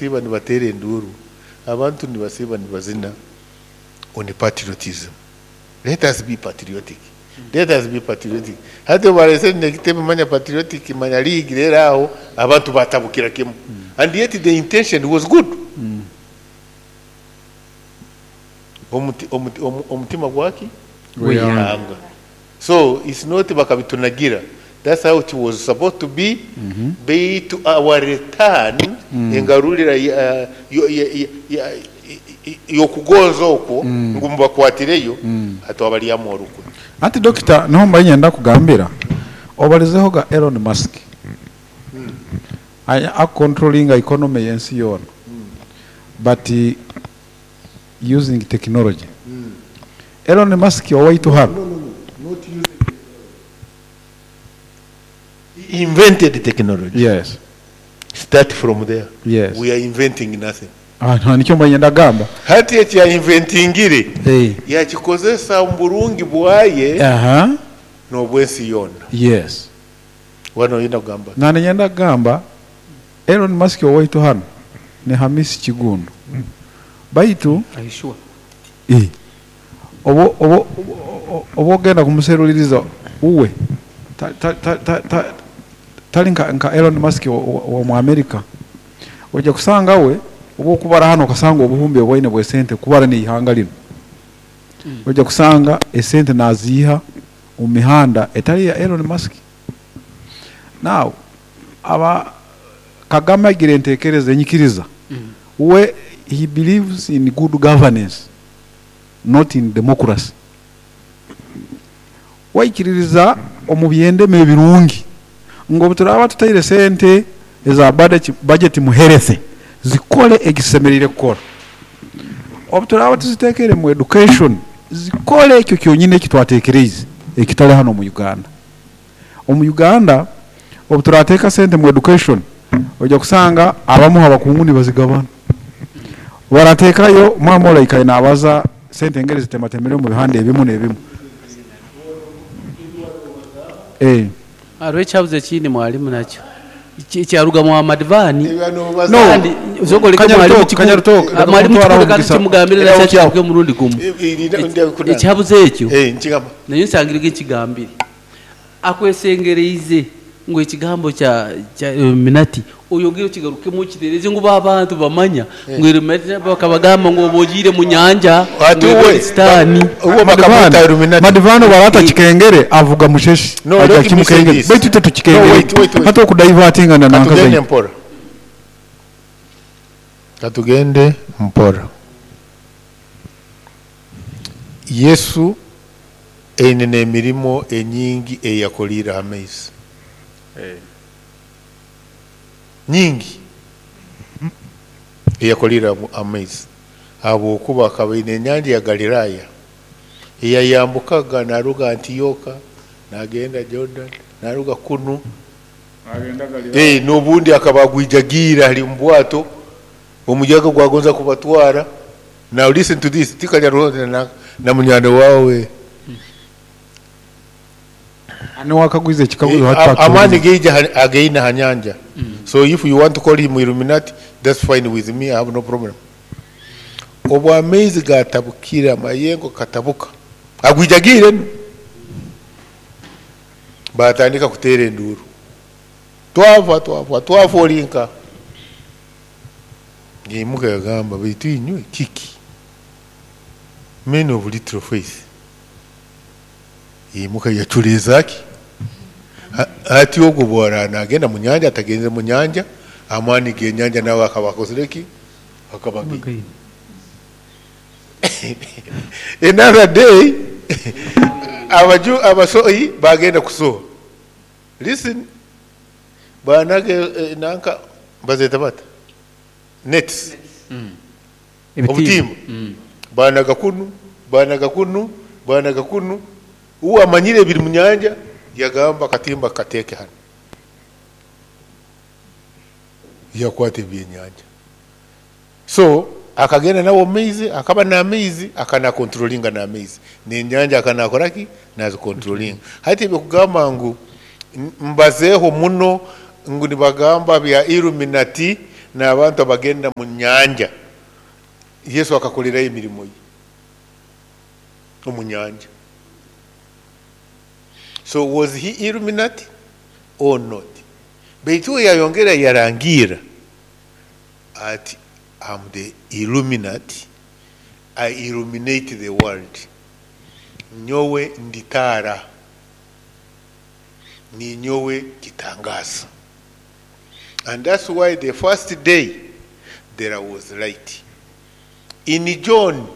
Nibasiiba nibateera enduuru, abantu nibasiiba nibazina on patriotism. Let us be patriotic. Let us be patriotic. Hati obu baleesere n'ekitebe manya patriotic manya league reero aho abantu batabukira kimu. And yet the intention was good. Omuti, omuti, omutima gwaki? Gw'eihanga. So it's not bakabitunagira, that's how it was supposed to be, baitu our return, engarurira y'okugonza okwo ngu mubakwatireyo, hati wabalyamu orukwe. Anti dokita, niho mbaire niinyenda kugambira, obalizeho ga Elon Musk akukontrolinga economy y'ensi yoona but using technology. Elon Musk owaitu hanu. No, no, no, not using technology. He invented technology. Yes. Start from there. Yes. We are inventing nothing. Ah, nikyo mbaire niinyenda kugamba. Hati eki yainventingire Hey. yakikozesa omu burungi bwaye n'obw'ensi yoona. Yes. Wano oyenda kugamba ki? Na niinyenda kugamba Elon Musk owaitu hanu ni Hamisi Kigundu. Baitu Are you sure? Eh, obu obu obu ogenda kumuseruliriza uwe ta, ta, ta, ta, ta, tali nka, nka Elon Musk ow'omu Amerika. Ojja kusanga we obu okubara hanu okasanga obuhumbi obwaine bw'esente kubara n'eihanga linu. Ojja kusanga esente naziiha omu mihanda etali ya Elon Musk. Now, aba Kagame agira entekereza enyikiriza, we he believes in good governance not in democracy. Waikiririza omu byendema ebirungi ngu obu turaaba tutaire sente eza budget mu health zikole ekizisemeriire kukora. Obu turaaba tuziteekere mu education zikole ekyo kyonyini eki twateekereize ekitali hanu omu Uganda. Omu Uganda obu turateeka sente mu education oija kusanga abamu abakungu nibazigabana. Barateekayo mwami ori aikaire naabaza sente engeri zitematemere omu bihanda ebimu n'ebimu. Eh. Hariho ekihabuzo ekindi mwalimu nakyo ekyaruga mwa Madivani. No. Kandi zokoleka mwalimu Kanyarutoka, Kanyarutoka, leka mwalimu kumutwaraho kikuleka omugisa. tukimugambire Era nakyo okyaho. kiruge omurundi gumu. Ekihabuzo ekyo Nkigamba. nayo nsangire nkigambire akwesengereize ngu ekigambo kya Illuminati oyongere okigarukemu okitereze ngu abantu bamanya ngu Illuminati bakabagamba ngu oba ogiire mu nyanja Ati ngu uwe sitaani. uwe bakamwita Illuminati. Madivani barata kikengere avuga musheshi No, ajya let me say kimukengere this. baitu itwe No, tukikengere wait, wait, wait. hati okudivertingana nanka Katugende zaidi. mpora. Katugende mpora. Yesu eine n'emirimo enyingi eyakoliire ha maizi. Nyingi eyakoliire ha maizi. Habwokuba akaba aine enyanja ya Galiraaya eyayambukaga naruga Antioka nagenda Jordan naruga kunu n'obundi akaba agwijagiire ali mu bwato omuyaga gwagonza kubatwara. Now listen to this, tikanya na munywani wawe Niwakagwiza ekikaguzo hati amaani geija ageina ha nyanja. So if you want to call him Illuminati, that's fine with me, I have no problem. Obu amaizi gatabukire amayengo katabuka agwijagiire nu batandika kuteera enduuru, twafa twafa twafa olinka. Yaimuka yagamba, baitu inywe kiki? Men of little faith. Yaimuka yaculeeza ki? Ati ogwo bwara nagenda mu nyanja atagenze mu nyanja, amaani g'enyanja nawe akaba akozire ki? Akaba agi. Another day abaju abasohi bagenda kusoha. Listen, banage nanka bazeta bata nets. Obutimba. Banaga kunu, banaga kunu, banaga kunu. Uwo amanyire ebiri mu nyanja yagamba katimba kateeke hano. Yakwata ebyenyanja. So akagenda nawo maizi, akaba n'amaizi, akanakontrolinga n'amaizi. N'enyanja akanakora ki? Nazikontrolinga. Hati ebyo ngu mbazeeho muno ngu nibagamba bya Illuminati N'abantu abagenda mu nyanja, Yesu akakolerayo emirimu ye omu nyanja. So was he Illuminati or not? Baitu we yayongera yarangira ati, "Am the Illuminati, I illuminate the world." Nyowe nditaara, ninyowe kitangaza. And that's why the first day there was light. In John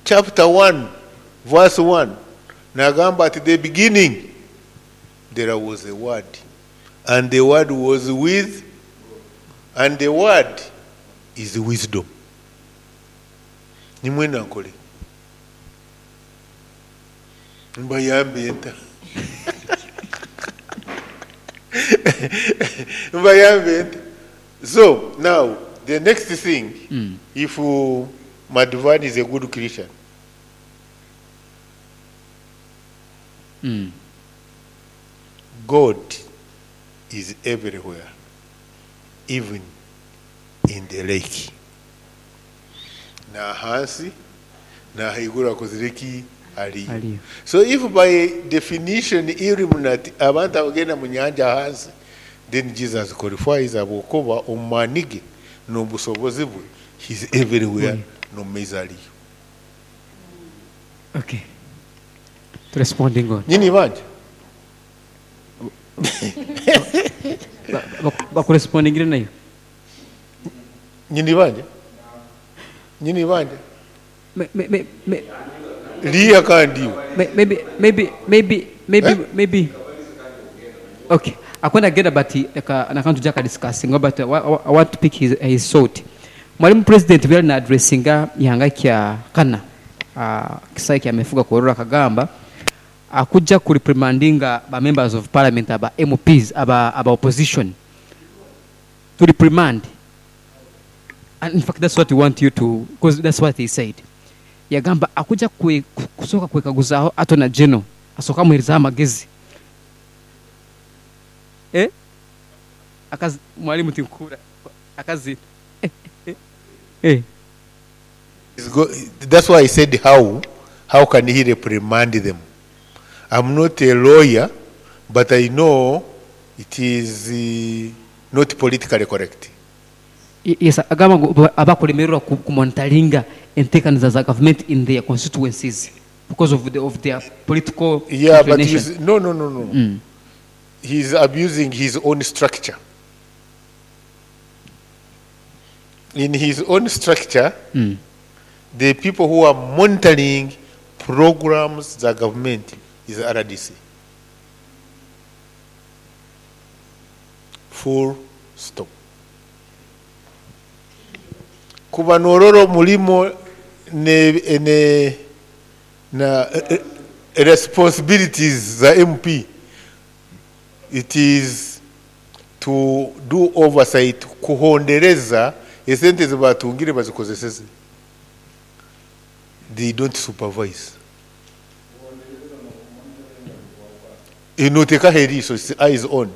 chapter 1 verse 1, nagamba, "At the beginning there was a word, and the word was with, and the word is wisdom." Nimwena nkole mbayambe nta? Mbayambe nta? So now the next thing, if Madhvani is a good Christian, God is everywhere, even in the lake. Na hansi na haiguru akozire aliyo. Aliyo. So if by definition Illuminati abantu abagenda mu nyanja hansi, then Jesus qualifies ahabwokuba omu ge n'obusobozi bwe, he's everywhere, n'omu maizi aliyo. Okay. To responding on. Nyini banja. Bakurespondingire nayo. Nyini banja, nyini banja. Me, liya kandi. Maybe Eh? Maybe. Okay. Akwenda genda, but aka nakantu jaka discussing, but I want to pick his thought. Mwalimu President byali na addressinga ihanga kya kana kisai kya mefuga korora kagamba akujja ku reprimandinga ba members of parliament, aba MPs, aba opposition, to reprimand. And in fact that's what we want you to, because that's what he said. Yagamba akujja kusooka kwekaguzaaho Attorney General asooka amuherezaho amagezi, eh? Akazi mwalimu tinkura akazi, eh. That's why I said how can he reprimand them? I'm not a lawyer, but I know it is not politically correct. Yes, agamba ngu abakulemererwa kumonitoringa enteekaniza za government in their constituencies because of their political Yeah, but inclination. he's, no. He's abusing his own structure. In his own structure, the people who are monitoring programs, the government, is RDC. Full stop. Kuba nororo mulimo ne na responsibilities za MP, it is to do oversight, kuhondereza esente zebatungire bazikozeseze. They don't supervise. Inoteka eriiso, it's eyes on.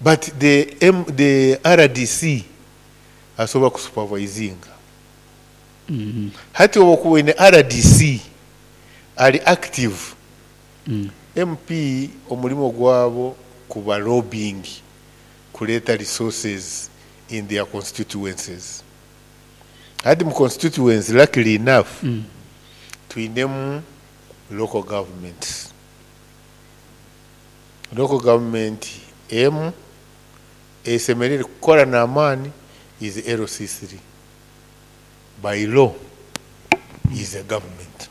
But the RDC asobola kusupervisinga. Hati oba ine RDC ali active, MP omulimo gwabo kuba lobbying, kuleeta resources in their constituencies. Hati mu constituency, luckily enough, tuyinemu local governments. Local government emu esemerere kukola n'amaani is LC3. By law is a government.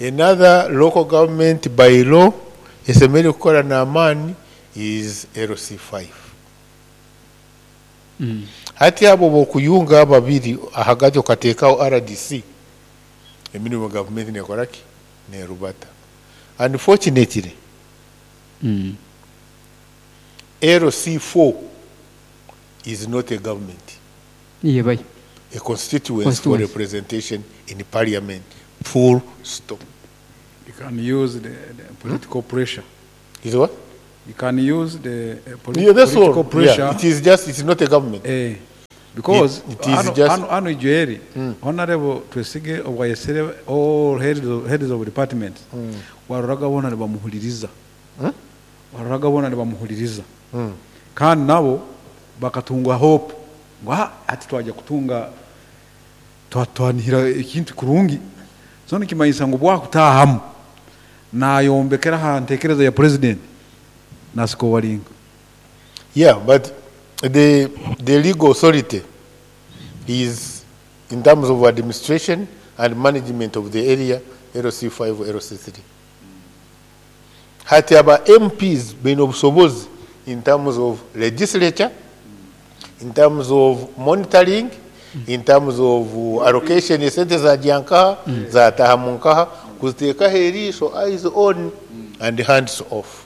Another local government by law esemerere kukola n'amaani is LC5. Hati abo bokuyunga ababiri ahagati okateekawo RDC, emirimu gavumenti nekoraki nerubata. Unfortunately, LC4 is not a government, Yebayo. A constituency for Constituency. Representation in parliament, full stop. You can use the political pressure. Is what? You can use the Yeah, that's all. political pressure. Yeah, it is just, it's not a government. Because It is hano, just- hano Ijweri, Honorable Twesige obwayesere all heads of departments, waroraga bona nibamuhuliriza. Waroraga bona nibamuhuliriza. Kandi nabo bakatunga hope ngo ati twajya kutunga twanihira ekintu kurungi. So nikimanyisa ngu bwakutahamu nayombekera ha ntekereza ya president nasiko walinga. Yeah, but the legal authority is in terms of administration and management of the area, LC5, LC3. Hati aba MPs baine obusobozi in terms of legislature, in terms of monitoring, in terms of allocation esente zajya nkaha, zataha mu nkaha, kuziteekaho eriisho, eyes on and hands off.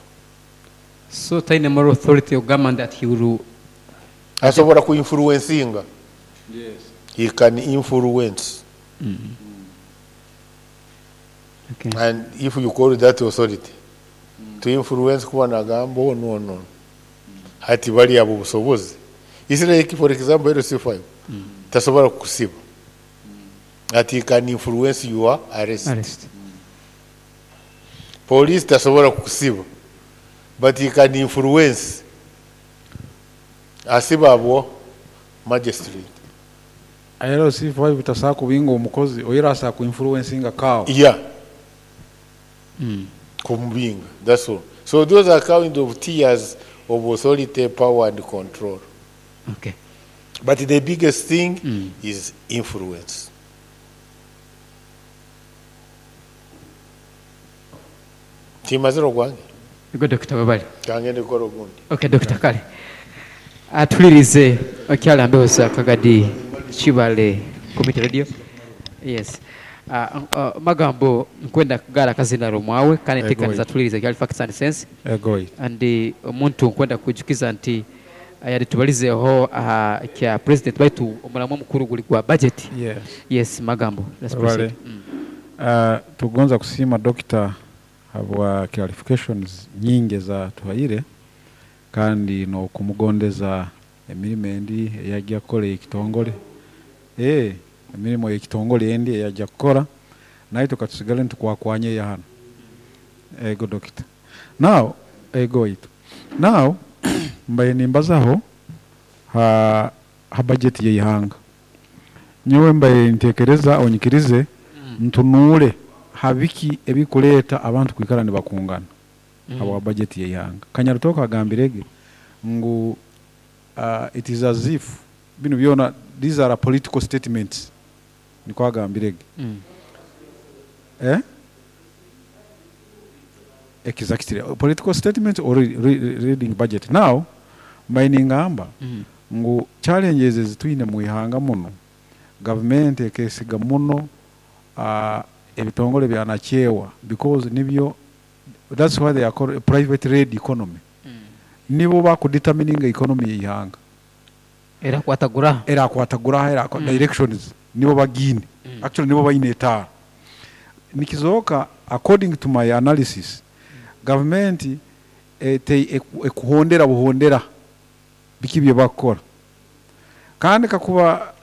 So taine moral authority ogamba that he will Asobola kuinfluencinga. Yes. He can influence. Okay. And if you call that authority to influence kuba nagamba ono ono hati bali abo busobozi. Israel, for example, LC5 tasobola kukusiba. Ati he can influence your arrest. Arrest. Police tasobola kukusiba, but he can influence. Asiba abo magistrate. LC5 tasobola kubinga omukozi oyera asobola kuinfluencinga kawo. Yeah. Kumubinga, that's all. So those are kind of tiers of authority, power and control. Okay. But the biggest thing is influence. Timaziro gwange. Ego Dr. Babali. Kangende kora ogundi. Okay, Dr. Kale. Atulirize okyala mbeho Kagadi Kibale Community Radio. Yes. Magambo nkwenda kugara kazina rumwawe kandi nteekaniza tulirize kyali facts and sense. Egoi. And omuntu nkwenda kujukiza nti yali tubalizeho kya president baitu omulamu omukuru guli gwa budget. Yes. Yes, magambo. Let's proceed. Tugonza kusima doctor habwa clarifications nyingi za tuhaire kandi no kumugondeza emirimo endi eyajja kukola ekitongole. Emirimo ekitongole endi eyajja kukola naye tukatusigale ntukwakwanye ya hano. Ego doctor. Now ego itu. Now mbaye nimbazaho ha budget y'ihanga. Nyowe mbaye ntekereza onyikirize ntunule habiki ebikuleta abantu kwikara nibakungana. Abo budget y'ihanga. Kanyarutoka agambirege ngu it is as if bino byona these are political statements. Niko agambirege. Exactly. Political statement or reading budget. Now mainingamba ngu challenges ezitwine mu ihanga muno government ekesiga muno ebitongole byanakyewa because nibyo that's why they are called a private rate economy. Nibo bakudetermining economy y'ihanga. Era kwatagura era directions nibo bagine. Actually nibo bayine taa. Nikizoka according to my analysis government ekuhondera buhondera biki bye bakora. Kandi kakuba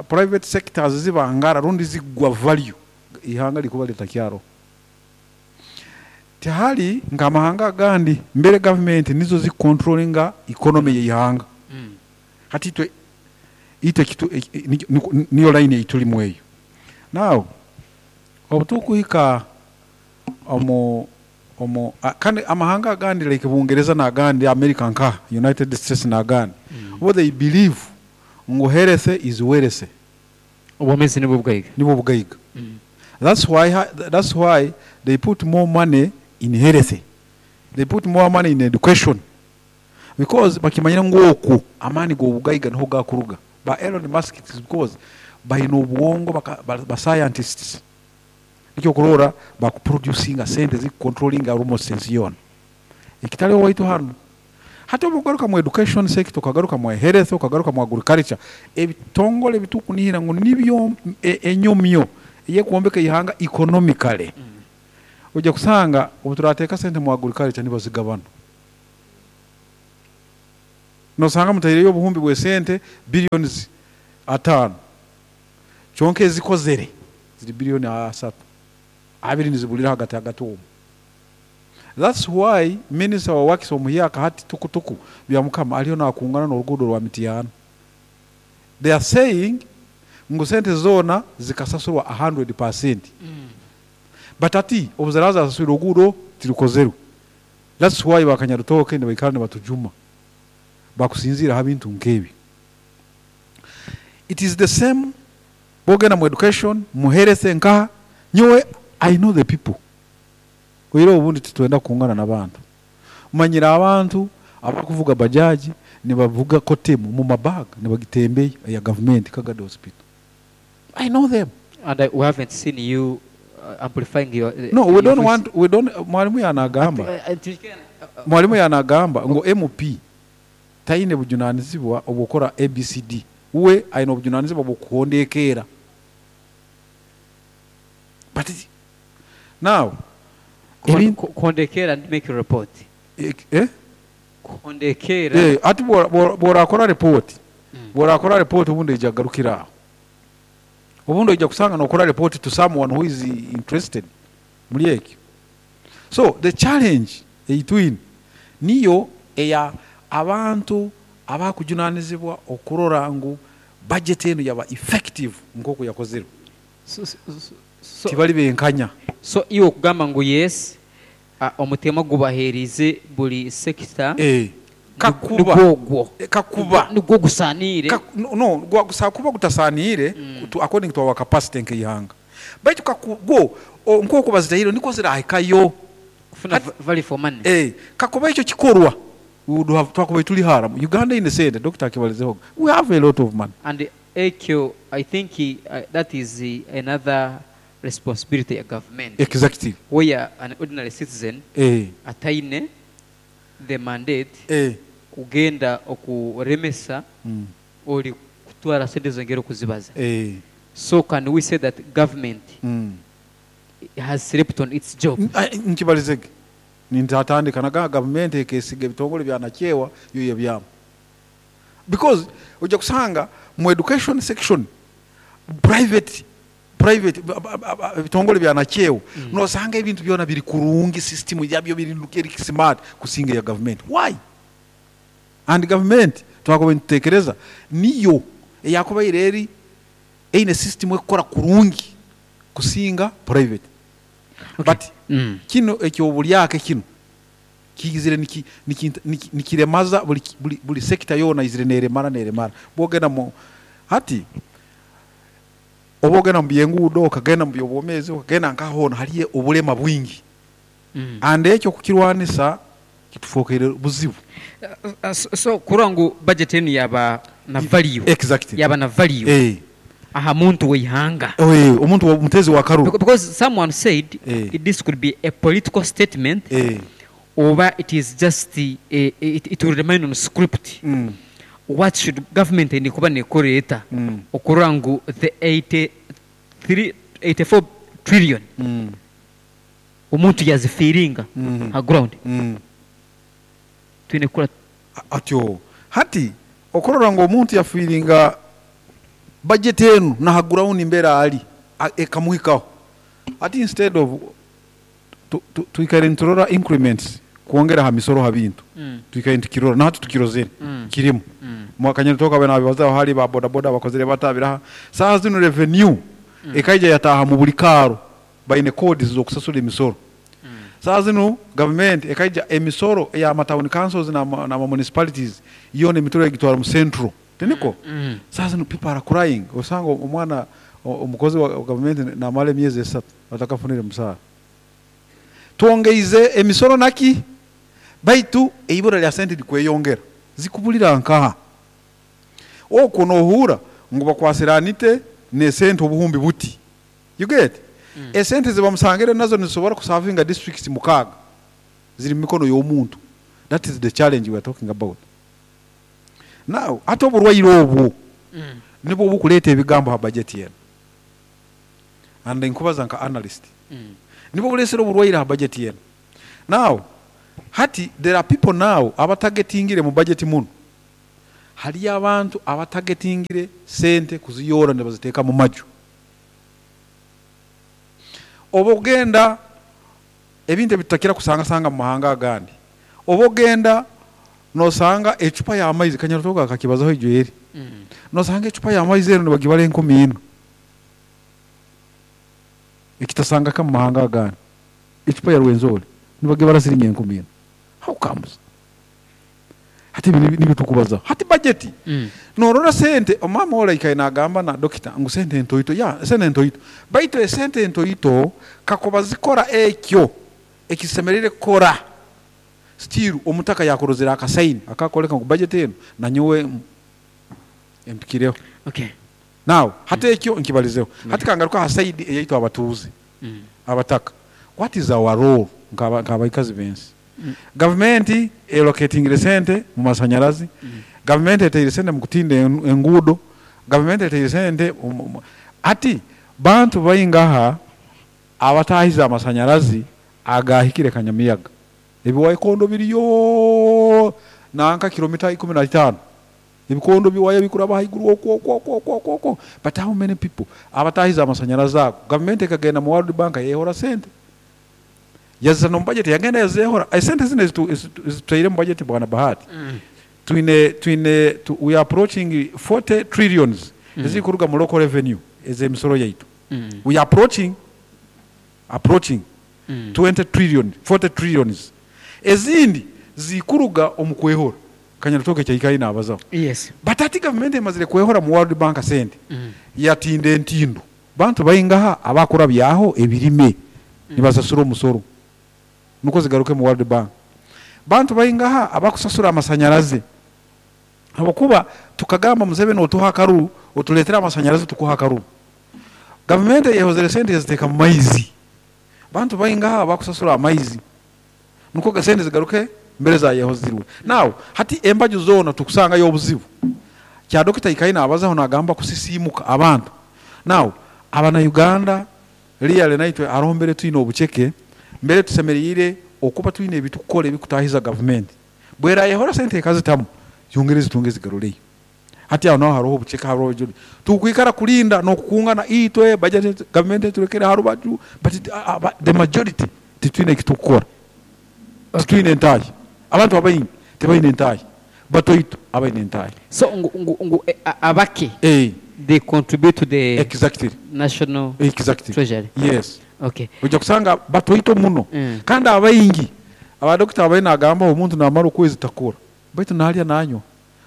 private sectors zibangara rundi zigwa value ihanga likuba litakyaro. Tihali ngamahanga gandi mbere government nizo zi controllinga economy y'ihanga. Hati itwe ite kitu niyo line ituli mweyo. Now obutukuhika omu kandi amahanga gandi like Bungereza na gandi America nka United States na gandi. What they believe ngo health is wealth. Obwomezi nibwo bugaiga. Nibwo bugaiga. That's why they put more money in health. They put more money in education. Because bakimanyira ngoku amani go bugaiga niho gakuruga. Ba Elon Musk is because bayino obwongo ba scientists. Nikyo kurora ba producing sente zi controlling almost sense yona. Ekitale waitu hano. Hata obugaruka mu education sector ukagaruka mu health ukagaruka mu agriculture ebitongole bitukunihira ngo nibyo enyomyo ye kuombeka ihanga economically. Ujya kusanga obuturateka sente mu agriculture nibazigabana. Nosanga mutaireyo obuhumbi bw'esente billions 5, kyonka ezikozere ziri biliyoni 3, 2 nizibulira hagati hagati omwo. That's why minister wa works omuhyaka hati tukutuku Byamukama aliyo nakungana n'oruguudo rwa Mityana. They are saying ngu sente zoona zikasasurwa 100%, but ati obu ziraaba zasaswire oruguudo tirukozerwe. That's why bakanyarutooke nibaikara nibatujuma bakusinziira ha bintu nk'ebi. It is the same bwogenda mu education, mu health, nkaha nyowe I know the people. Oihireho obundi titwenda kukungana n'abantu. Manyire abantu abakuvuga bajaji nibavuga Coartem mu mabaga nibagitembeya eya gavumenti Kagadi Hospital. I know them. And we haven't seen you amplifying your No, we your don't voice. want, we don't. Mwalimu yanagamba, mwalimu yanagamba ngu MP taine bujunanizibwa obwokora ABCD, we aine obujunanizibwa bwokuhondekeera. But now Kuhondekera and make a report. Eh? Kuhondekera. Ati bworakora report, bworakora report obundi ija garukira aho, obundi ojja kusanga nokora report to someone who is interested muri ekyo. So the challenge eitwine niyo eya abantu abakujunanizibwa okurora ngu budget enu yaba effective nk'oku yakozerwe. So tibali benkanya. So iwe okugamba ngu yes, omutema gubaherize buli sector Kakuba nigwogwo kakuba nigwo gusanire. No, kuba gutasaniire according to our capacity nk'eihanga, baitu gwo nk'oku bazitahire niko zirahikayo kufuna value for money. Kakuba ekyo kikorwa, we would have twakuba tuli haramu. Uganda ine sente, Dr. akibalizeho, we have a lot of money. And ekyo I think that is another responsibility ya government, where an ordinary citizen ataine the mandate kugenda okuremesa oli kutwara sente zongera okuzibaza. So can we say that government has slept on its job? Nkibalizege nintatandika naga gavumenti ekesiga ebitongole byanakyewa yo yebyamu, because ojja kusanga mu education section private ebitongole byanakyewa, nosanga ebintu byona biri kurungi, system yabyo biri eri smart kusinga ya government. Why? And government twakuba nitutekereza niyo eyakubaire eri eine system ekukora kurungi kusinga private. But kino ekyobulyake kino kiyizire nikiremaza buli sector yona, izire neremara neremara. Bwogenda mu hati oba ogenda mu byenguudo, okagenda mu byobwomezi, okagenda nkahona haliyo obulema bwingi. And ekyo kukirwanisa kitufookere buzibu. So kurora ngu budget enu yaba na value, yaba na value aha muntu weihanga. Omuntu mutezi wa karuru. Because someone said this could be a political statement oba it is just it will remain on script. What should government eni kuba nekoreeta okurora ngu the 83 84 trillion omuntu yazifiiringa ha ground? Twine kukora Atyo hati okurora ngu omuntu yafiiringa budget enu naha ground mbera ali ekamuhikaho, ati instead of twikaire niturora increments kwongera ha misoro ha bintu, twikaire nitukirora nahati tukirozere kirimu. Mwakanyene toka bena bibazaho hali ba boda boda bakozere batabiraha saha zino revenue ekaija yataha mu buli karo baine codes zokusasula emisoro. Saha zino government ekaija emisoro ya town councils na ma municipalities yona emitoro egitwara mu central tiniko. Saha zino people are crying, osanga omwana omukozi wa government namala emyezi 3 atakafunire musaara. Twongeize emisoro naki baitu eibura lya sente likweyongera zikubulira nkaha okwo nohura ngu bakwasiranite nesente obuhumbi buti, you get? Esente zibamusangire nazo nizisobora kusavinga districts 6 ziri mu mikono y'omuntu. That is the challenge we are talking about now. Ate oburwaire obwo nibwo bukuleeta ebigambo ha budget yenu, and nkubaza nka analyst, nibwo bulesera oburwaire ha budget yenu. Now hati there are people now abatargetingire mu budget muno. Haliyo abantu abatagetingire sente kuziyora nibaziteeka mu maju. Oba ogenda ebintu ebitutakira kusangasanga mu mahanga agandi, oba ogenda nosanga ecupa y'amaizi, Kanyarutoga akakibazaho ijo eri, nosanga ecupa y'amaizi ero nibagibara 4,000, ekitasangaka mu mahanga agandi. Ecupa ya Rwenzori nibagibara siringi 4,000. How comes? Hati ebi nibyo tukubazaho. Hati budget, norora sente, omama ora ikaye nagamba na dokita ngu sente ntoito, ya sente ntoito, baitu esente ntoito kakuba zikora ekyo ekisemerire kukora, still omutaka yakurozere akasaini akakoleka ngu budget eno nanyowe empikireho. Now hati ekyo nkibalizeho. Hati kangaruka ha side eyaitu abatuuze, abataka. What is our role nk'abaikazi b'ensi? Gavumenti elocatingire sente mu masanyarazi, gavumenti eteire sente mu kutinda enguudo, gavumenti eteire sente hati bantu baingaha abatahize amasanyarazi agahikire Kanyamiyaga. Ebiwaikondo biriyo nanka kilomita 15. Ebikondo biwaya bikuraba haiguru okwo okwo okwo okwo okwo okwo. But how many people abatahize amasanyarazi ago? Gavumenti ekagenda mu World Bank yehora sente. Yazana mu budget yagenda yazehora. Esente zino ezituteire mu budget bwana Bahati. We are approaching 40 trillions ezikuruga mu local revenue ezemisoro yaitu. We are approaching 20 trillion, 40 trillions. Ezindi zikuruga omu kwehora. Kanyarutoke kyaikaye nabazaho. But ati government emazire kwehora mu World Bank sente. Yatinda entindo. Bantu baingaha abakora byaho ebirime nibasasura omusoro. Nuko zigaruke mu World Bank. Bantu baingaha abakusasura amasanyarazi. Habwokuba tukagamba Museveni otuha akaruru, otuletera amasanyarazi tukuha akaruru. Government yehozere sente yaziteeka mu maizi. Bantu baingaha abakusasura amaizi. Nuko sente zigaruke mbere za yehozirwe. Now hati embaju zona tukusanga yobuzibu. Kya Dokita Ikaina abazaho nagamba kusisimuka abantu. Now abana Uganda really naitwe arombere twine obucheke mbere tusemerire okuba twine ebitukora ebikutahiza government. Bwera yehora sente ekazitamu yongere zitunge zigaruleyo. Hati aho naho hariho obucheke hariho ejuri. Tukwikara kulinda nokukungana itwe budget government turekere harubaju, but the majority titwine ekitukora. Titwine entahi. Abantu abaingi tebaine entahi. Batoito abaine entahi. So ngu abake they contribute to the national treasury. Yes. Ojja kusanga batoito muno. Kandi abaingi abadokita abaine agamba omuntu namara okwezi takora. Baitu nalya nanywa.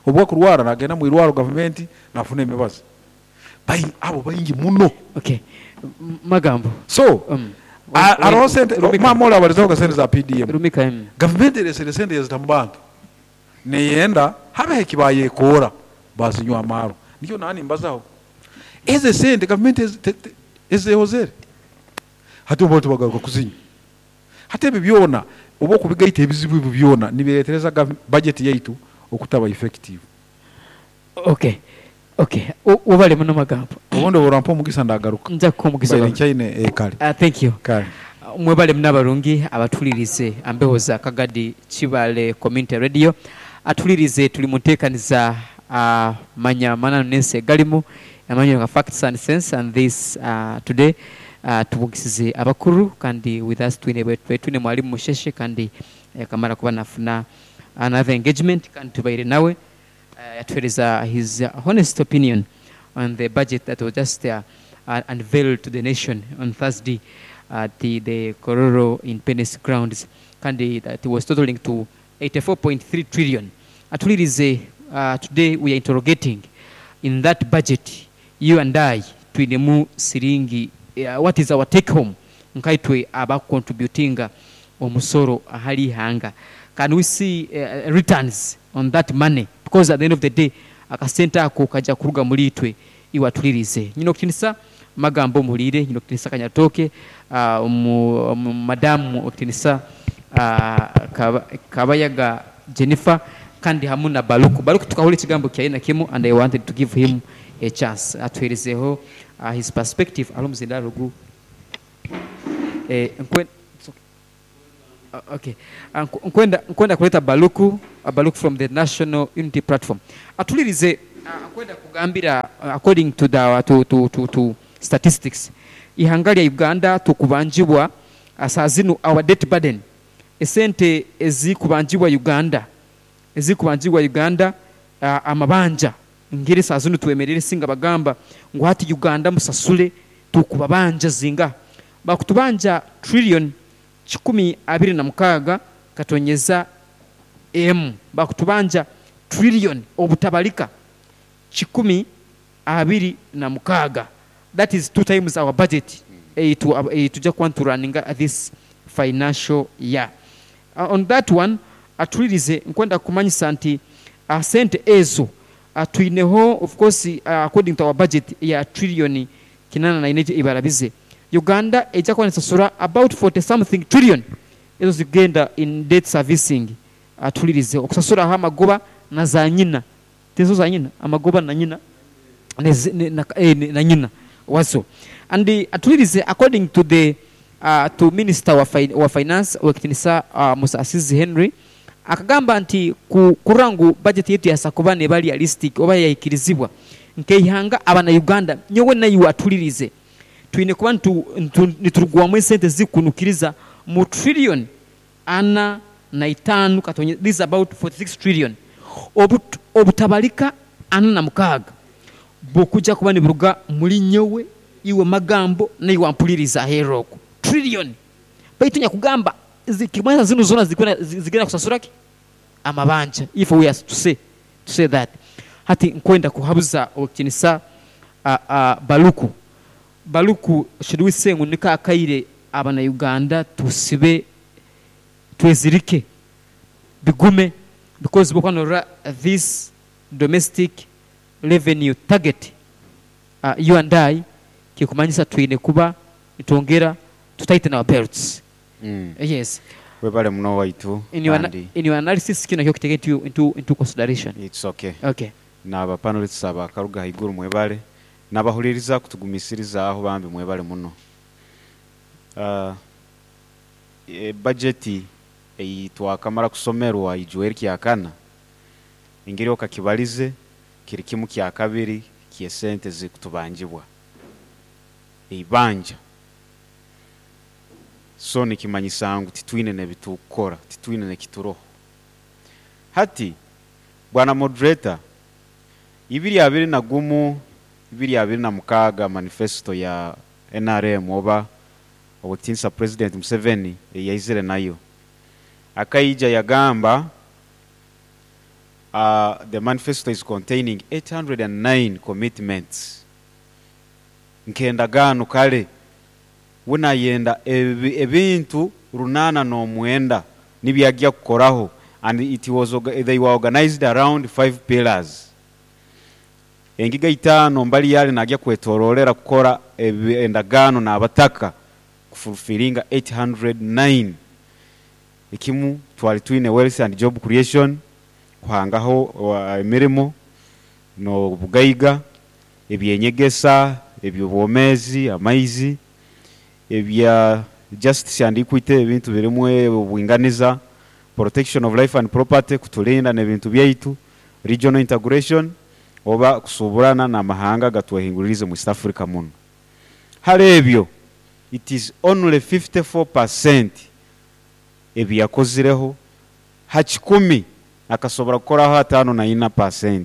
Obwa kurwara nagenda mu irwaro government nafuna emibazi. Abo baingi muno. Magambo. So, aroho sente, mama ola abalizaho sente za PDM. Rumika. Government eresere sente yazitamu bantu. Neyenda habe ekibayekora bazinywa amaro. Nikyo nani mbazaho. Eze sente government ezehozere. Hati obo tubagaruka kuzinywa. Hati ebi byona obo kubigaita ebizibu ebi byona nibiretereza budget yaitu okutaba effective. Ubale muno magambo. Obundi orampa omugisa ndagaruka. Nja kukuha omugisa. Bali nchaine kale. Thank you. Kale. Mwebale munabarungi abatulirize ambeho za Kagadi Kibale Community Radio. Atulirize tuli mutekaniza manya manano nense galimu amanyo nga facts and sense, and this today tubugisize abakuru kandi with us twine twine mwalimu Musheshe kandi kamara kuba nafuna another engagement kandi tubaire nawe atuhereza his honest opinion on the budget that was just unveiled to the nation on Thursday at the Kololo Independence Grounds, kandi that was totaling to 84.3 trillion. Atulirize today we are interrogating in that budget, you and I twinemu siringi, what is our take home nkaitwe aba contributinga omusoro ahali hanga. Can we see returns on that money? Because at the end of the day akasenta ako kaja kuruga muri itwe iwatulirize. Nyino kutinisa magambo muhulire, nyino kutinisa Kanyatoke, madamu okutinisa Kabayaga Jennifer kandi hamu na Baluku. Baluku tukahuli kigambo kya ina kimu and I wanted to give him a chance atuherezeho his perspective alumuzinda rugu. Okay. Nkwenda kuleta Baluku, Baluku from the National Unity Platform. Atulirize, nkwenda kugambira, according to the to statistics, ihanga lya Uganda tukubanjibwa saa zinu our debt burden, esente ezikubanjibwa Uganda, amabanja ngeri saa zinu twemerere singa bagamba ngu hati Uganda musasule tukubabanja zinga bakutubanja trillion 126 katonyeza m, bakutubanja trillion obutabalika 126. That is 2 times our budget tujja kuba nituraninga this financial year. On that one, atulirize nkwenda kumanyisa nti sente ezo twineho, of course, according to our budget ya trillion 84 ibarabize, Uganda ejja kuba nesasura about 40 something trillion ezo zigenda in debt servicing. Atulirize okusasuraho amagoba na za nyina, tezo za nyina, amagoba na nyina na nyina wazo. And atulirize according to the to minister wa finance wekitinisa Musasizi Henry akagamba nti kurangu budget yetu yasakuba ne bali realistic oba yayikirizibwa nkeihanga abana Uganda nyowe nayo atulirize twine kuba niturugwamu sente zikunukiriza mu trillion 45 katonye, this is about 46 trillion obutabalika 46 bukujja kuba niburuga muri nyowe iwe magambo nayo wampuliriza heroko trillion baitu nyakugamba zikimanya zino zona zigenda kusasura ki amabanja, if we are to say that. Hati nkwenda kuhabuza okinisa Baluku should we say ngunika akaire abana Uganda tusibe twezirike bigume, because bokwanora this domestic revenue target, you and I kikumanyisa twine kuba nitongera to tighten our belts. Yes. Webale muno waitu. In your analysis kino kyo take into consideration. It's okay. Okay. Naba panelists abakaruga haiguru mwebale nabahuliriza kutugumisiriza aho bambi mwebale muno. Budget eitwa kamara kusomerwa ijueri kyakana ingeri okakibalize kiri kimu kya kabiri kyesente zikutubanjibwa eibanja. So nikimanyisa ngu titwine nebitukora, titwine nekituroho. Hati bwana moderator, 2021 2026 manifesto ya NRM oba obutinsa President Museveni yaizire nayo akaija yagamba, the manifesto is containing 809 commitments. Nkendagano kale wunayenda ebintu 809 nibyajya kukoraho, and it was they were organized around 5 pillars. Engiga 5 mbali yale najya kwetorolera kukora endagano n'abataka kufulfilinga 809. Ikimu twali twine wealth and job creation, kuhangaho emirimo no bugaiga, ebyenyegesa, ebyobwomezi, amaizi, ebya justice and equity, ebintu birimwe obwinganiza, protection of life and property, kutulinda n'ebintu byaitu, regional integration oba kusuburana n'amahanga gatwehinguririze mu East Africa muno. Hali ebyo it is only 54% ebyakozireho, ha 10 akasobora kukoraho 54%.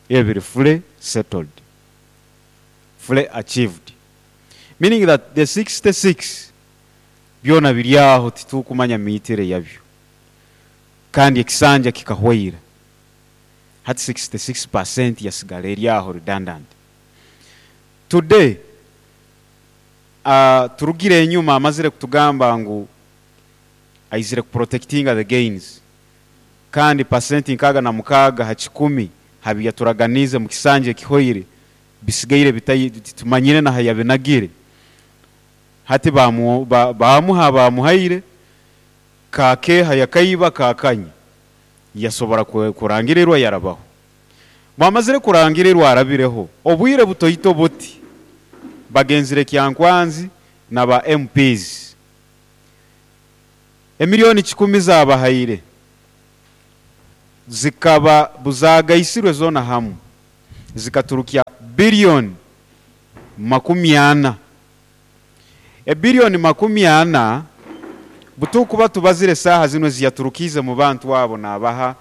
Ebiri fully settled, fully achieved, meaning that the 66 byona biryaho titukumanya miitire yabyo, kandi ekisanja kikahweira. Hati 66% yasigala eryaho redundant. Today turugire enyuma amazire kutugamba ngu aizire kuprotectinga the gains, kandi percent 66 ha 10 habiyaturaganize mu kisanje kihoire bisigaire bitayi tumanyire na hayabinagire. Hati bamuha bamuhaire kake hayakaiba kakanya yasobora kurangirirwa yarabaho. Bamazire kurangirirwa arabireho obwire butoyito buti bagenzire Kyankwanzi na ba MPs. Emiliyoni kikumi zaabahaire zikaba buzaagaisirwe zoona hamu zikaturukya biliyoni makumi ana. Ebiliyoni makumi ana butukuba tubazire saaha zinu eziyaturukiize mu bantu abo naabaha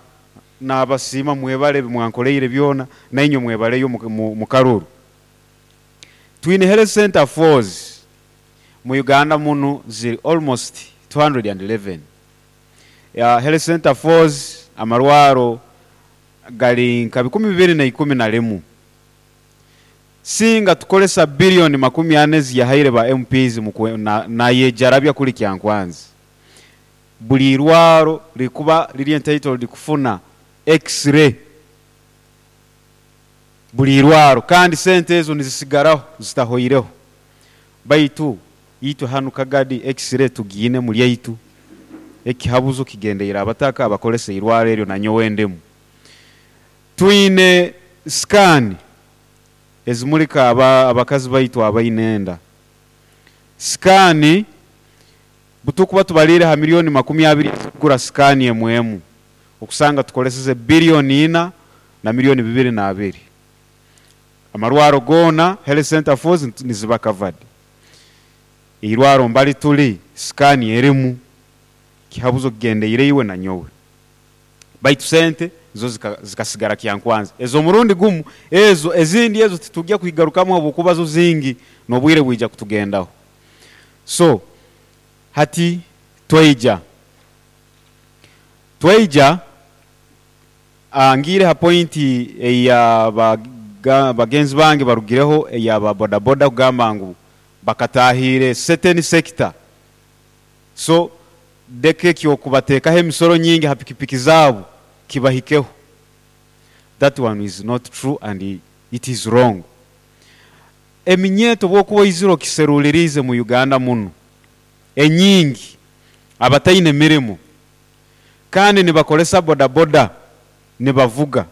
naabasiima mwebale ebi mwankoleire byona nainywe mwebaleyo mu karuru. Twine health center fours mu Uganda munu ziri almost 211. Health center fours amarwaro gari nka bikumi bibiri na ikumi na rimu. Singa tukoresa biliyoni makumi ana ezi yahaire ba MPs nayejarabya kuri Kyankwanzi. Buri irwaro rikuba riri entitled kufuna x-ray buri irwaro kandi sente ezo nizisigaraho zitahoireho. Baitu itwe hanu Kagadi x-ray tugiine muri yaitu. Ekihabuzo kigendeire abataka abakoresa irwaro eryo na nyowe ndemu. Twine scan ezimurika abakazi baitu abaine enda. Scan butukuba tubalire ha miliyoni makumi abiri kugura scan emwe emu. Okusanga tukoleseze biliyoni ina na miliyoni bibiri na abiri. Amarwaro gona health center fours niziba covered. Irwaro mbali tuli scan erimu kihabuzo kigendeire iwe na nyowe. Baitu sente zo zikasigara Kyankwanzi. Ezo murundi gumu ezo ezindi ezo titujya kuigarukamu habwokuba zo zingi nobwire bwija kutugendaho. So hati tweija ngire ha pointi eya bagenzi bange barugireho eya ba boda boda kugamba ngu bakatahire certain sector. So deke kyo kubatekaho emisoro nyingi ha pikipiki zabo kibahikeho. That one is not true and it is wrong. Eminyeto bwokuba iziro kiserulirize mu Uganda muno enyingi abataine mirimo kandi nibakolesa boda boda nibavuga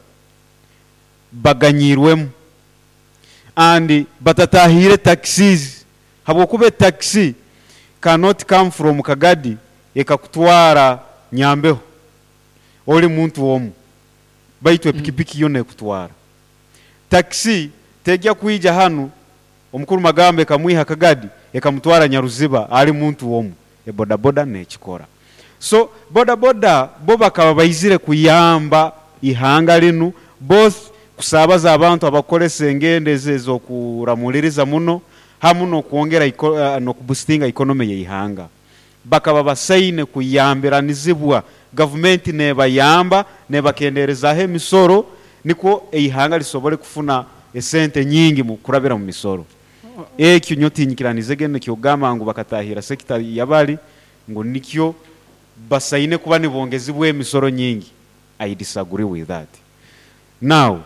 baganyirwemu and batatahire taxis habwokuba taxi cannot come from Kagadi ekakutwara Nyambeho oli muntu omu baitu epikipiki yona ekutwara. Taxi tejya kuija hanu omukuru Magambe ekamwiha Kagadi ekamutwara Nyaruziba ali muntu omu. E boda boda nekikora. So boda boda bo bakaba baizire kuyamba ihanga linu both kusabaza abantu abakolesa engende ezokuramuliriza muno hamu nokwongera nokuboostinga economy y'ihanga. Bakaba basaine kuyambiranizibwa government nebayamba nebakenderezaho emisoro niko eihanga lisobole kufuna esente nyingi mu kurabira mu misoro. Ekyo nyotinyikiranize gene kyogamba ngu bakatahira sekita yabali ngu nikyo basaine kuba nibongezibwa emisoro nyingi. I disagree with that. Now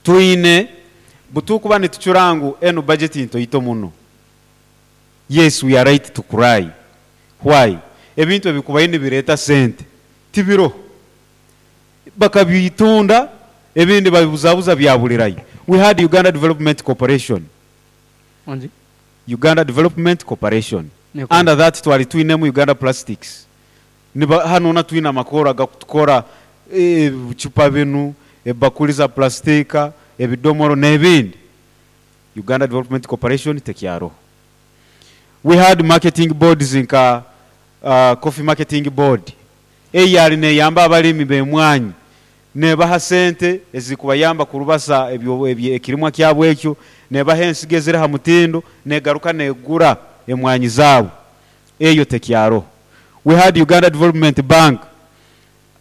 twine butukuba nitucurangu eno budget ntoito muno. Yes, we are right to cry. Why? Ebintu ebikubaye nibireta sente tibiro bakabitunda ebindi babibuzabuza byabulirayo. We had Uganda Development Corporation. Onzi? Uganda Development Corporation. Neko. Under that twali twinemu Uganda Plastics. Niba hano na twina makora gakutukora chupa binu, ebakuli za plastika, ebidomoro n'ebindi. Uganda Development Corporation tekyaro. We had marketing boards nka coffee marketing board. Eyali neyamba abalimi b'emwanyi nebaha sente ezikubayamba kurubasa ebyo ekirimwa kyabwe ekyo, nebaha ensigo eziri ha mutindo, negaruka negura emwanyi zaabo. Eyo tekyaro. We had Uganda Development Bank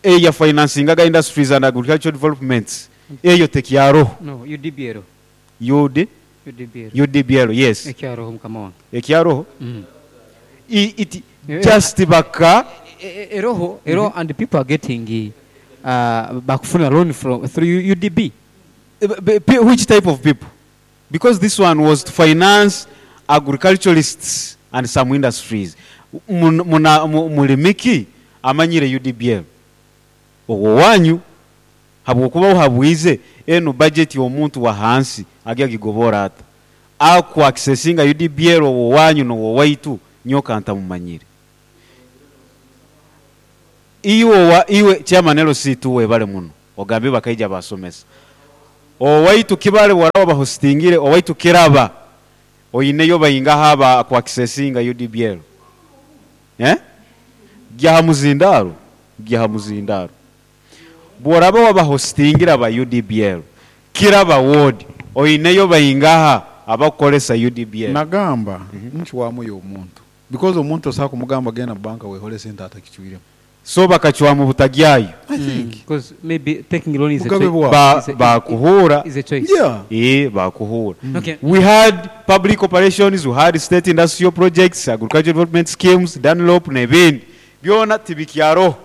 eya financing aga industries and agricultural developments. Eyo tekyaro. No, UDBL. UD? UDBL. UDBL, yes. Ekyaro mukama wange. Ekyaro? It just baka Eroho, ero and people are getting bakufuna loan from through UDB. Which type of people? Because this one was to finance agriculturalists and some industries. Mulimiki amanyire UDBL. Ogwo wanyu habwokuba uhabwize eno budget y'omuntu wa hansi agya gigobora ata. Aku accessinga UDBL ogwo wanyu no waitu nyoka ntamumanyire. Iwe wa iwe chairman LC tu webale muno ogambye bakaija basomesa. Owaitu Kibale bworaba bahostingire owaitu Kiraba oineyo baingaha aba ku accessinga UDBL? Eh? Gya ha muzindaro, gya ha muzindaro. Bworaba wabahostingire aba UDBL, Kiraba ward oineyo baingaha abakukoresa UDBL? Nagamba ncwamu y'omuntu because omuntu osobola kumugamba genda mu banka wehole sente atakicwiremu. So bakacwamu butagyayo. I think. Because maybe taking loan is a Mugabe choice. bwabo. Bakuhura. Is a choice. Yeah. Bakuhura. Okay. We had public operations, we had state industrial projects, agricultural development schemes, Dunlop n'ebindi. Byona tibikyaroho.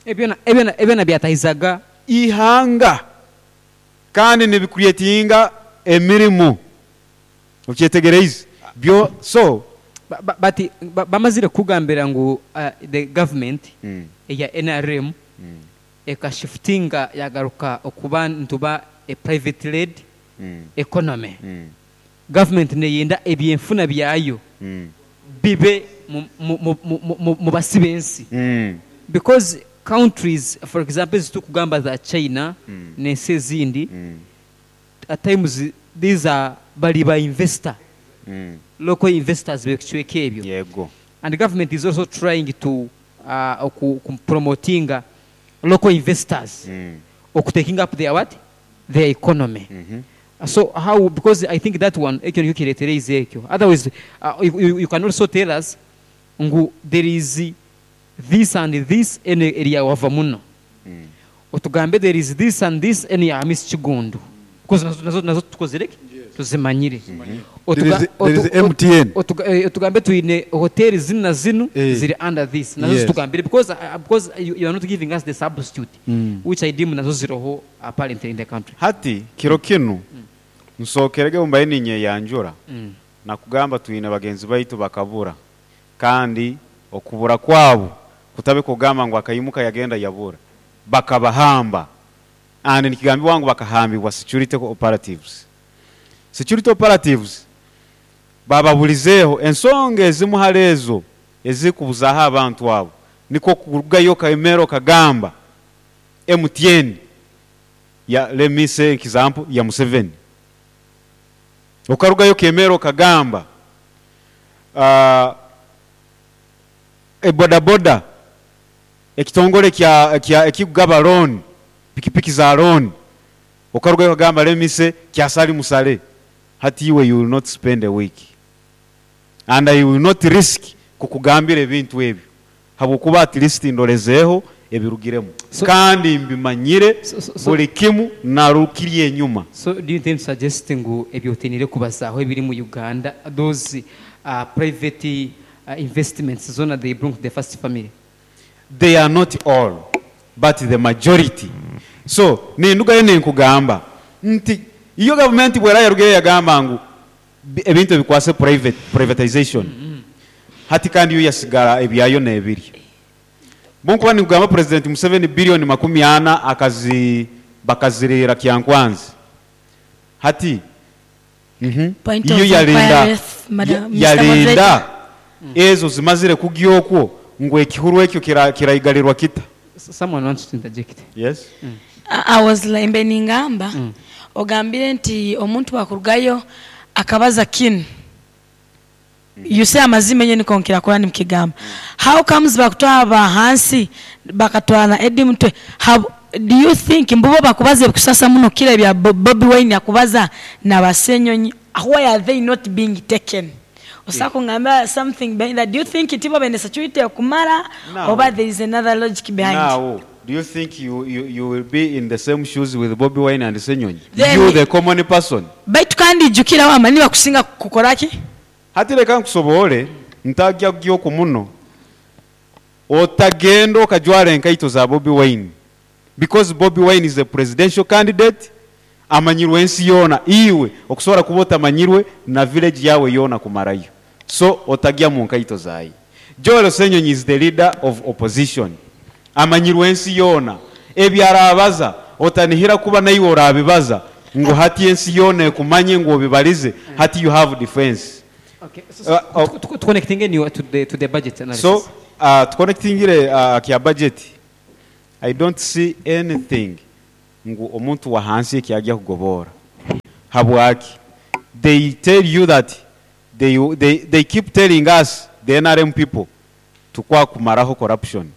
Ebyona byatahizaga ihanga kandi nibicreatinga emirimu. Okyetegereize? Byo so But bamazire kugambira ngu the government eya NRM ekashiftinga yagaruka okuba ntuba a private led economy. Government neyenda ebyenfuna byayo bibe mu basi b'ensi. Because countries, for example, zitukugamba za China n'ensi ezindi, at times these are bali ba investor. Local investors bekicweka ebyo. Yego. And the government is also trying to ku promoting local investors oku taking up their what? Their economy. So how, because I think that one ekyo nikyo kireetera ekyo. Otherwise, you can also tell us ngu there is this and this ene area wava muno. Otugambe there is this and this ene ya Miss Kigundu. Because nazo tukozere ki? Tuzimanyire. There is MTN. Otugambe tuine hotel zinu na zinu ziri under this. Nazo tugambire because you are not giving us the substitute which I deem nazo ziroho apparently in the country. Hati kiro kinu nsokerege mbaye ninye yanjura. Nakugamba tuine bagenzi baitu bakabura kandi okubura kwabo kutabe kugamba ngu akayimuka yagenda yabura bakabahamba and nikigambi wangu bakahambibwa security operatives. Security operatives bababulizeho ensonga ezimuhalezo ezikubuzaho abantu abo niko kurugayo kaimero kagamba MTN ya let me say example ya Museveni okarugayo kemero kagamba boda boda ekitongole kya ekigaba loan pikipiki za loan okarugayo kagamba let me say kya Sali Musale hati iwe you will not spend a week and I will not risk kukugambira ebintu ebyo habwokuba at least ndolezeeho ebirugiremu kandi mbimanyire buli kimu narukiriye enyuma. So do you intend suggest ngu ebyotenire kubazaho ebiri mu Uganda those private investments zona they bring to the first family? They are not all but the majority. So nindugayo ninkugamba nti iyo government bwera yarugeyo yagamba ngu ebintu ebikwase privatization. Hati kandi yo yasigara ebyayo n'ebiri. Bonkuba nikugamba President Museveni bilioni 40 akazi bakazirira Kyankwanzi. Hati Point iyo of yalinda inquiry, Madam, Mr. yalinda Moderator. ezo zimazire kugyokwo ngo ekihuru ekyo kiraigalirwa kita. Someone wants to interject. Yes. I was like ningamba ogambire nti omuntu wakurugayo akabaza kinu. You say amazima yenye niko nkira Qur'an mkigamba. How comes bakutwara ba hansi bakatwara na Eddie Mutwe? How do you think mbubo bakubaze kusasa muno kile bya Bobi Wine yakubaza na basenyonyi, why are they not being taken? Osako ngamba something behind that. Do you think itibo bene security kumara No. or there is another logic behind? Now, do you think you will be in the same shoes with Bobi Wine and Senyonyi? Then You the common person. Baitu kandi jukira wa mani bakusinga kukoraki? Hati reka nkusobole ntajya gyoko muno otagenda okajwara enkaito za Bobi Wine because Bobi Wine is a presidential candidate amanyirwe ensi yona iwe okusobola kuba otamanyirwe na village yawe yona kumarayo so otagya mu nkaito zaye. Joel Senyonyi is the leader of opposition amanyirwe ensi yona ebyarabaza otanihira kuba naiwe orabibaza ngo hati ensi yona ekumanye ngo obibalize hati you have defense. Okay, so, so, connecting anyway to the budget analysis. So Tuconnectingire kya budget. I don't see anything ngu omuntu wa hansi ekyajya kugobora. Habwaki? They tell you that they keep telling us, the NRM people, tukwa kumaraho corruption,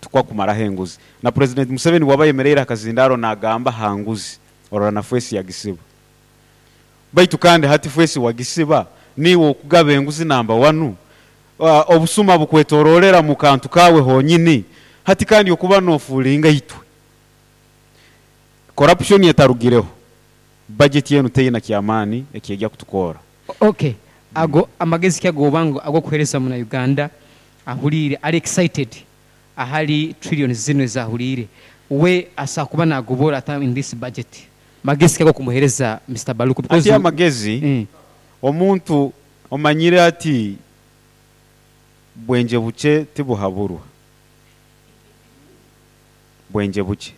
tukwa kumaraho enguzi. Na President Museveni waba yemereire akazindaro nagamba hanguzi orora na fwesi yagisiba. Baitu kandi hati fwesi wagisiba niwe okugaba enguzi namba 1. Obusuma bukwetororera mu kantu kawe honyini, hati kandi okuba nofulinga itwe. Corruption yetarugireho, budget yenu teyina kyamani ekiyajya kutukora. Okay, ago amagezi kyagobango ago kuhereza muna Uganda ahulire ari excited ahali trillions zino ezahulire we asakuba nagobora ata in this budget. Magezi kyago kumuhereza Mr. Baluku because ati amagezi omuntu omanyire ati bwenje buche tibuhaburwa. Bwenje buche.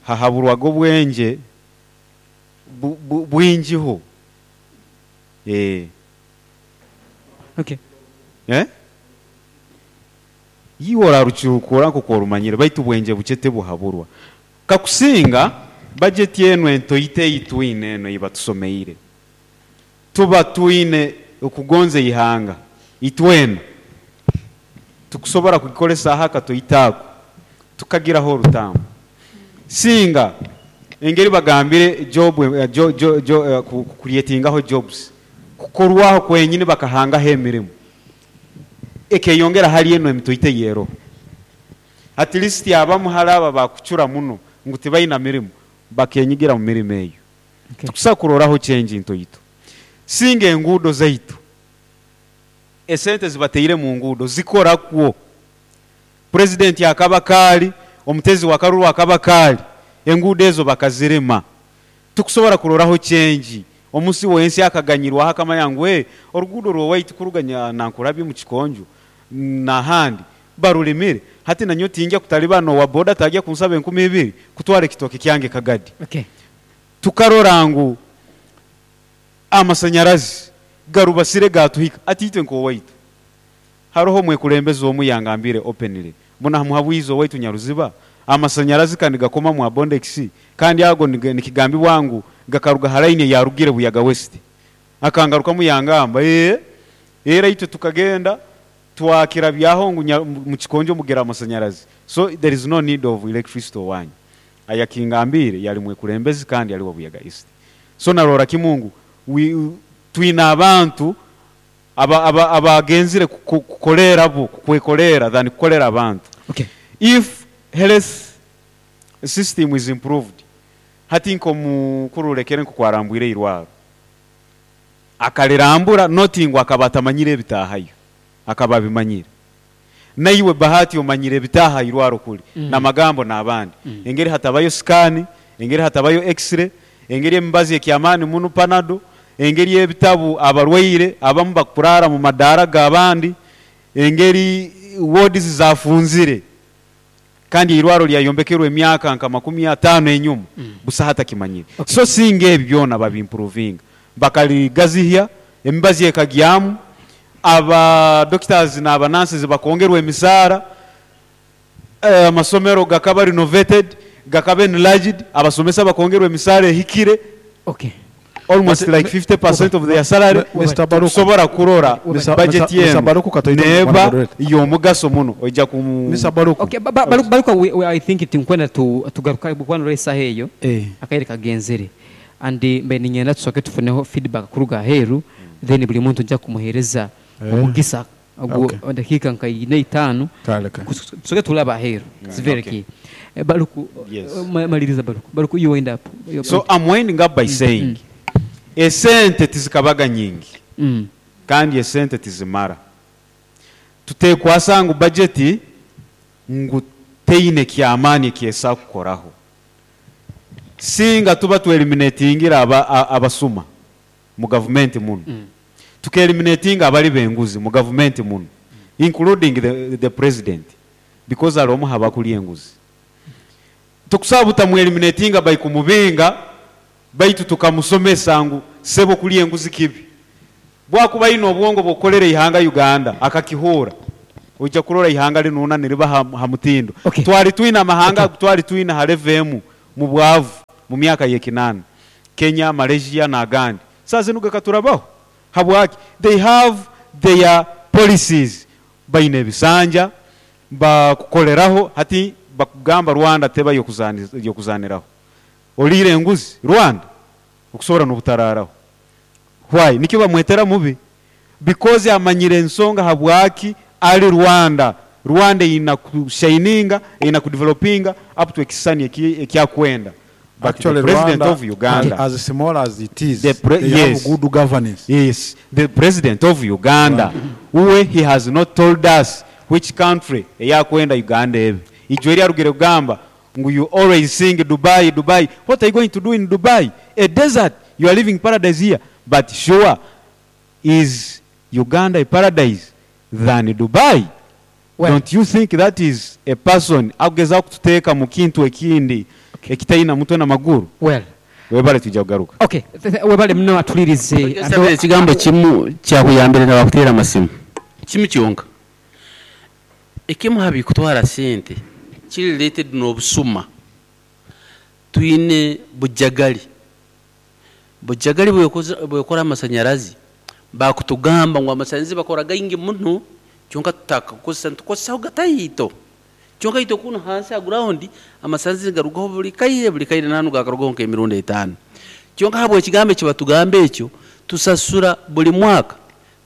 Hahaburwa go bwenje bwinjiho. Okay. Yiwora ruchukura nko korumanyire baitu bwenje buche tibuhaburwa. Kakusinga budget yenu ento ite itwine eno ibatusomeire. Tuba twine okugonze ihanga itwena tukusobora kugikolesa haka toitako tukagiraho orutamu. Singa engeri bagambire job creatingaho jobs kukorwaho kwenyini bakahangaho emirimu ekeyongera hali eno emitoite yero. At least abamu halaba bakuchura muno ngu tibaina mirimu bakenyigira mu mirimo eyo. Okay. Tukusakuroraho change ntoito. Singa enguudo zaitu esente zibateire mu nguudo zikora kwo. President akaba kali, omutezi wa Karuru akaba kali, enguudo ezo bakazirema. Tukusobora kuroraho change. Omusi wensi akaganyirwa hakama yangu oruguudo rwo waitu kuruganya nankurabye mu kikonjo nahandi barulimire. Hati nanyo tinja kutalibano wa boda tajya kunsaba 2000 kutwara ekitoke kyange Kagadi. Okay. Tukarora ngu amasanyarazi garubasire gatuhika atitwe nko waitu. Haroho mwekulembezi omu yangambire openly mbona hamuhabwizo waitu Nyaruziba amasanyarazi kandi gakoma mu Abondex kandi ago nikigambi wangu gakaruga haraine yarugire Buyaga West. Akangaruka mu yangamba era itwe tukagenda twakira byaho ngu mu kikonjo mugera amasanyarazi, so there is no need of electricity wanyu. Ayakingambire yali mwekulembezi kandi yali wa Buyaga East. So narora kimungu twina abantu abagenzire kukolera bo kwekolera than kukolera abantu. Okay. If health system is improved, hati nko mukurulekere nko kwarambwire irwaro akalirambura notingwa akabatamanyire ebitahayo akababimanyire naiwe bahati omanyire ebitaha irwaro kuli namagambo nabandi. Engeri hatabayo scan, engeri hatabayo x-ray, engeri embazi ekyamani munu panado, engeri ebitabu abarwaire abamu bakurara mu madara gabandi, engeri wards zafunzire kandi irwaro lyayombekerwe emyaka nka 50 enyuma busa hata kimanyire. Okay. So singa ebyo byona babimprovinga bakaligazihya emibazi ekagyamu aba doctors na aba nurses bakongerwa emisara, amasomero gakaba renovated gakaba enlarged, abasomesa bakongerwa emisara ehikire. Okay. Almost But, like 50% of their salary. Mr. Baruku. Tukusobora kurora budget Mr. yenu Baruku katoito neba mwana moderator. yomugaso muno ojja ku Mr. Baruku. Okay, Baruku, I think it nkwenda tugaruka bukwana resa heyo akaire kagenzere and mbe ninyenda tusoke tufuneho feedback kuruga heru then buli muntu nja kumuhereza omugisa ogwo dakika nka ine itano. Kale, kale. Tusoke tulaba heru. It's very Okay. key. Baruku, Yes. maliriza Baruku. Baruku, you wind up. Your So point. I'm winding up by saying esente tizikabaga nyingi kandi esente tizimara. Tutekwasa ngu budget ngu teine kyamani kyesa kukoraho. Singa tuba tu eliminatingira abasuma mu government muno. Tuke eliminatinga abali benguzi mu government muno, including the president, because alomu habakuli enguzi. Tukusaba tamu eliminatinga by kumubinga baitu tukamusomesa ngu sebo kuli enguzi kibi. Bwakuba aine obwongo bw'okukolera ihanga Uganda akakihuura, oija kurora ihanga linuuna niriba ha mutindo. Okay. Twali twine amahanga agu twali twine ha level emu mu bwavu mu myaka y'ekinaana, Kenya, Malaysia n'agandi. Saaha zinu gakaturabaho. Habwaki? They have their policies. Baine ebisanja bakukoleraho hati bakugamba Rwanda teba y'okuzaaniraho. Oliire enguzi Rwanda? Okusobora n'obutaraaraho. Why? Nikyo bamwetera mubi because amanyire ensonga habwaki ali Rwanda. Rwanda eyina kushininga, eyina kudevelopinga up to ekisisani ekyakwenda. But the Actually, president Rwanda, of Uganda, as small as it is, the they have yes. good governance. Yes, the president of Uganda, uwe he has not told us which country eyakwenda Uganda ebe. Ijo eri arugire kugamba ngu you always sing Dubai, Dubai. What are you going to do in Dubai? A desert. You are living paradise here. But sure, is Uganda a paradise than Dubai? Well, Don't you think that is a person akugezaho kututeeka mu kintu ekindi ekitaina mutwe na maguru? Well. Webale twija kugaruka. Okay, webale muno atulirize. Nsabire ekigambo kimu kyakuyambire nabakuteera amasimu kimu kyonka. Ekimu ha bikutwara sente kiri related n'obusuma. Twine bujagali. Bujagali bwekora amasanyarazi, bakutugamba ngu amasanyarazi bakora gaingi muno, kyonka tutakakozesa, nitukozesaho gataito. Kyonka itwe kunu hansi ha ground amasanyarazi garugaho buli kaire, buli kaire nanu gakarugaho nk'emirundi 5. Kyonka habwe ekigambo eki batugamba ekyo, tusasura buli mwaka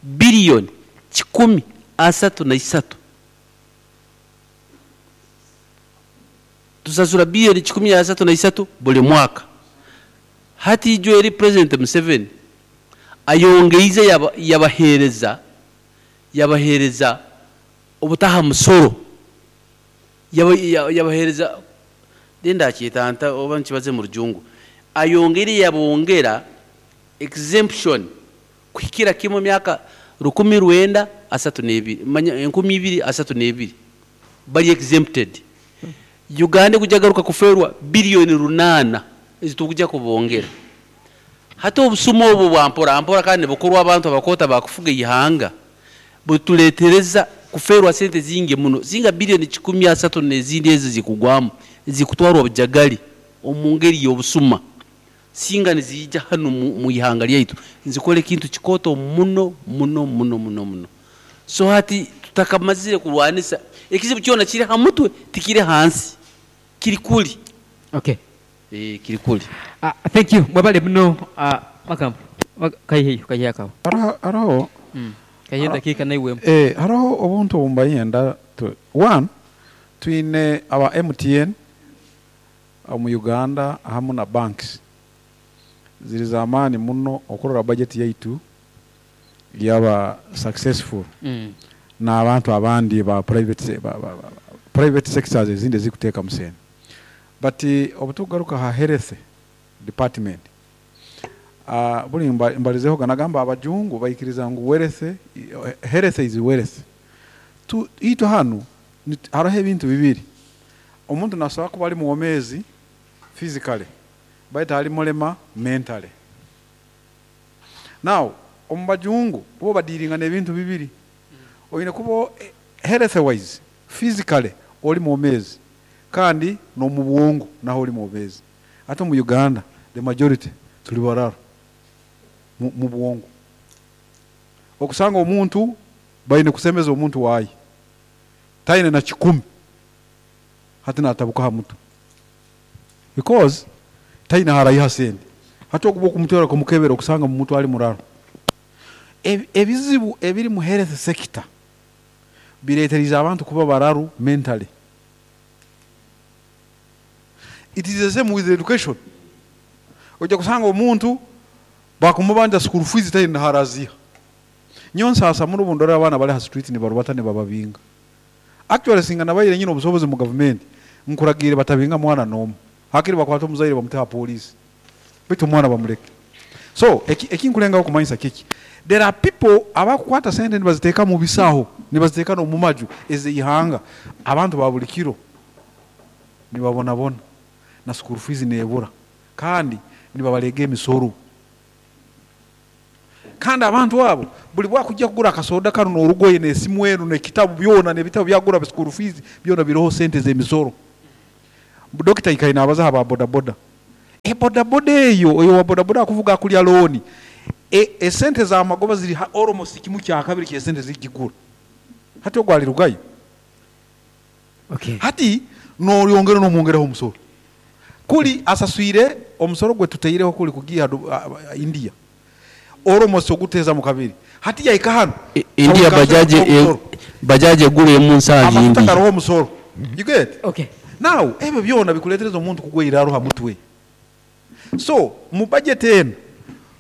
biliyoni kikumi asatu na isatu. Tusasura biliyoni kikumi asatu na isatu buli mwaka. Hati ijo eri President Museveni ayongeize yabahereza obutaha musoro. Yabahereza denda kyetanta oba nkibaze mu rujungu. Ayongere yabongera exemption kuhikira kimwe myaka rukumi rwenda asatu n'ebiri, manya enkumi ibiri asatu n'ebiri bali exempted. Uganda kujagaruka kuferwa biliyoni 8 ezitukuja kubongera. Hata obusumo obwo bwa mpora mpora kandi bukorwa abantu abakota bakufuga ihanga butuletereza kuferwa sente zingi muno, zinga biliyoni kikumi asatu n'ezindi ezo zikugwamu zikutwarwa obujagali omu ngeri y'obusuma, singa nizijja hano mu ihanga lyaitu nzikole kintu kikoto muno muno muno muno muno. So hati tutakamazire kulwanisa ekizibu kyona kiri ha mutwe tikiri hansi, kiri kuli. Okay. Kiri kuli. Thank you. Mwebale muno, makambo. Kaihe, kaihe akawo. Haro. Kaihe dakika na iwe. Haro obuntu obumbayenda one twine aba MTN mu Uganda hamu na banks ziri zamani muno okurora budget yaitu yaba successful. Na abantu abandi ba private sectors ezindi zikuteka musene. But obutugaruka ha health department, buli mbalizeho ganagamba abajungu bayikiriza ngu wealth, health is wealth. Tu ito hanu hariho ebintu bibiri. Omuntu nasobola kuba ali muwomezi physically, baitu ali mulema mentally. Now omu bajungu bo badiringa n'ebintu bibiri. Oyine kuba health wise physically oli muwomezi kandi no mu bwongo naho oli muwomezi. Ate mu Uganda the majority tuli bararo mu bwongo. Okusanga omuntu bayine kusemeza omuntu wayi taine na 10 hati natabuka ha mutu because taine harayiha sente. Hati okuba okumutwara kumukebera okusanga mu mutu ali muraro. Ebizibu ebiri mu health sector bireetereza abantu kuba bararu mentally. It is the same with education. Ojja kusanga omuntu bakumubanja school fees taine haraziha. Nyonsa asa muri bundora abana bali ha street ni barubata ne bababinga. Actually singa nabayire nyine obusobozi mu government nkuragire batabinga mwana nomu. Hakiri bakwata omuzaire bamuteha police. Bitu mwana bamuleke. So ekinkulenga okumanyisa kiki? There are people abakwata sente nibaziteeka mu bisaho, nibaziteeka no mu maju eze ihanga. Abantu ba buli kiro nibabonabona na school fees nebura kandi nibabalega emisoro. Kandi abantu abo buli bwakujja kugura akasoda kanu n'orugoye n'esimu enu n'ekitabu byona n'ebitabu byagura school fees byona biroho sente z'emisoro. Dokita ikaine abaza aba bodaboda. E bodaboda eyo oyo wa bodaboda akuvuga akulya looni. Esente z'amagoba ziri almost kimu kya kabiri ky'esente zigigura. Hati ogwo alirugayo. Okay. Hati n'olyongera n'omwongeraho omusoro. Kuli asaswire omusoro gwe tuteireho kuli kugiha India. Almost oguteza mu kabiri. Hati yaika hano. India bajaji bajaji egula emu nsangi Amafuta India. garoho omusoro. You get? Okay. Now ebyo byona bikuletereza omuntu kugwa iraro ha mutwe. So mu budget eno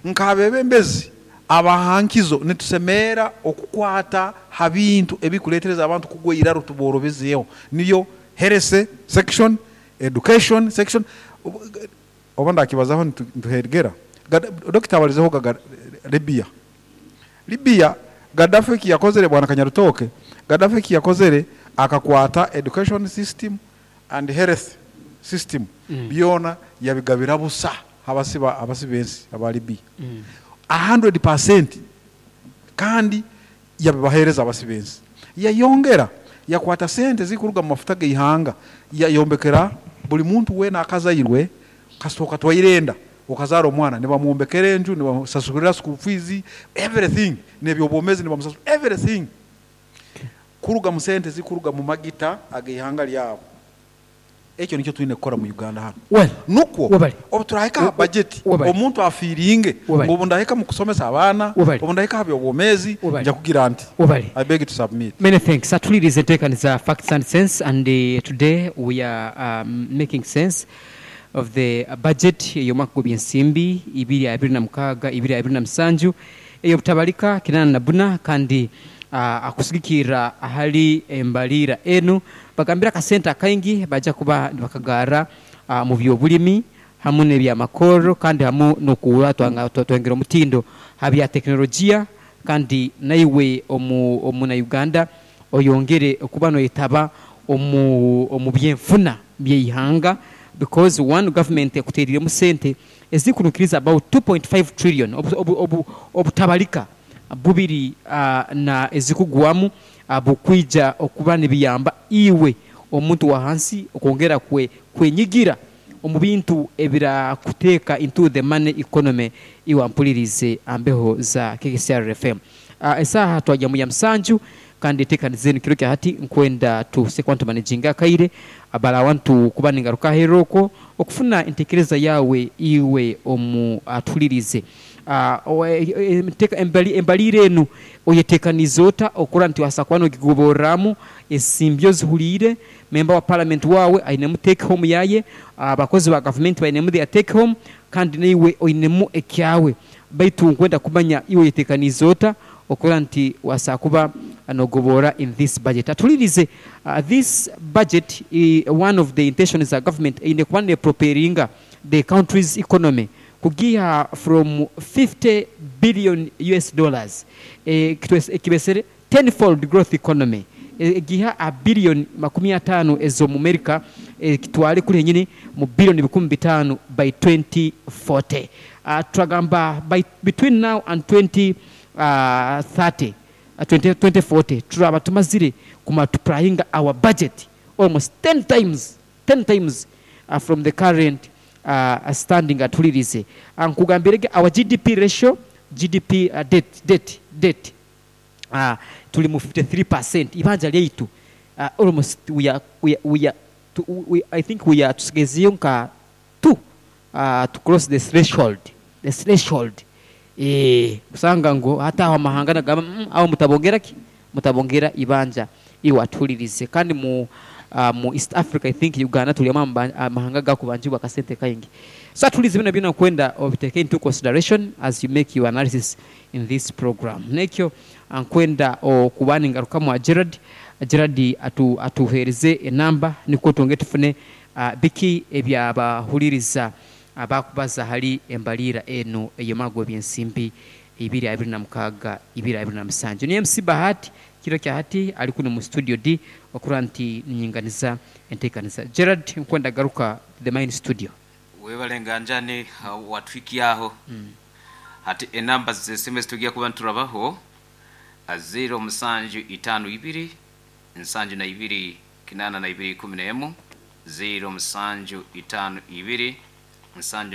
nk'abebembezi abahankizo nitusemeera okukwata ha bintu ebikuletereza abantu kugwa iraro tuborobezeeho, niyo health section, education section. Oba ndakibazaho nituhegera. Dokita abalizeho gaga Libya. Libya Gaddafi eki yakozere, bwana Kanyarutoke, Gaddafi eki yakozere akakwata education system and health system byona yabigabira busa abasi bensi aba Libya 100%, kandi yabibahereza abasi bensi. Yayongera yakwata sente zikuruga mu mafuta g'ihanga yayombekera buli muntu wena akazairwe kasoka twairenda okazara omwana nibamwombekera enju, nibamusasulira school fees, everything, nebyobwomezi nibamusasula everything kuruga mu sente zikuruga mu magita ag'ihanga lyabo. Ekyo nikyo tulina kukora mu Uganda hano. Well, nukwo webale. obu turahika aha budget Webale. omuntu afiiringe Webale. ngu obu ndahika mu kusomesa abaana, Webale. obu ndahika aha byobwomezi Webale. nja kugira nti Webale. I beg to submit. Many thanks. Atulirize enteekaniza Facts and Sense, and today we are making sense of the budget ey'omwaka gw'ebyensimbi ibiri abiri na mukaaga ibiri abiri na musanju ey'obutabalika kinaana na buna, kandi akusigikirra ahali embaliira enu bagambira akasente akaingi baja kuba nibakagaara mu byobulimi hamu n'ebyamakoro, kandi hamu n'okuba twongera omutindo ha bya tekinologiya, kandi naiwe omuna Uganda oyongere okuba noyetaba omu byenfuna by'eihanga, because one government ekuteeriremu sente ezikunukiriza about 2.5 trillion obutabalika bubiri na ezikugwamu bukwija okuba nibiyamba iwe omuntu wa hansi okwongera kwenyigira omu bintu ebirakuteeka into the money economy. Iwe ampulirize ambeho za KCR FM. Esaha twajya mu ya musanju, kandi eteekanize kiro kya hati nkwenda tuse kuba ntumanaginga akaire abala abantu kuba ningaruka aheeru okwo okufuna entekereza yawe iwe omu atulirize. Embaliire enu oyetekanize ota okura nti wasa kuba nogigoborramu ensimbi ozihuliire member wa parliament wawe ainemu take home yaye, abakozi ba government bainemu their take home, kandi naiwe oinemu ekyawe, baitu nkwenda kumanya iwe oyetekanize ota okura nti wasa kuba nogobora in this budget. Atulirize, this budget, one of the intentions za government eine kuba neproperinga the country's economy kugiha from 50 billion US dollars, kibesere tenfold growth economy, giha a billion makumi atano ezo mu America, kitwale kuri nyine mu billion bikumi bitano by 2040. Twagamba by between now and 2030, 2040 turaba tumazire kumatuplyinga our budget almost 10 times, 10 times from the current standing. Atulirize, nkugambirege our GDP ratio, GDP debt tuli mu 53% ibanja lyaitu, almost we are, to, we, I think we are tusigezeyo nka 2 to cross the threshold, the threshold. Usanga ngo hata aho amahanga nagamba, aho mutabongera ki mutabongera ibanja. Iwatulirize, kandi mu East Africa I think Uganda tuli amahanga gakubanjibwa akasente kaingi. So atulize bino byona kwenda obiteke into consideration as you make your analysis in this program. Nekyo nkwenda okubani ngaruka mwa Gerard. Gerard atuhereze enamba niko twonge tufune biki ebyabahuliriza abakubaza hali embalira eno ey'omwaka gw'ebyensimbi ibiri abiri na mukaaga ibiri abiri na musanju. Ni MC Bahati kiro kya hati ali kuno mu studio D okura nti ninyinganiza enteekaniza. Gerard, nkwenda garuka the main studio. Webale nganjane watwiki aho. Hati enamba z'esimu ezitugiye kuba niturabaho 0752 72 82 11, 0752 7.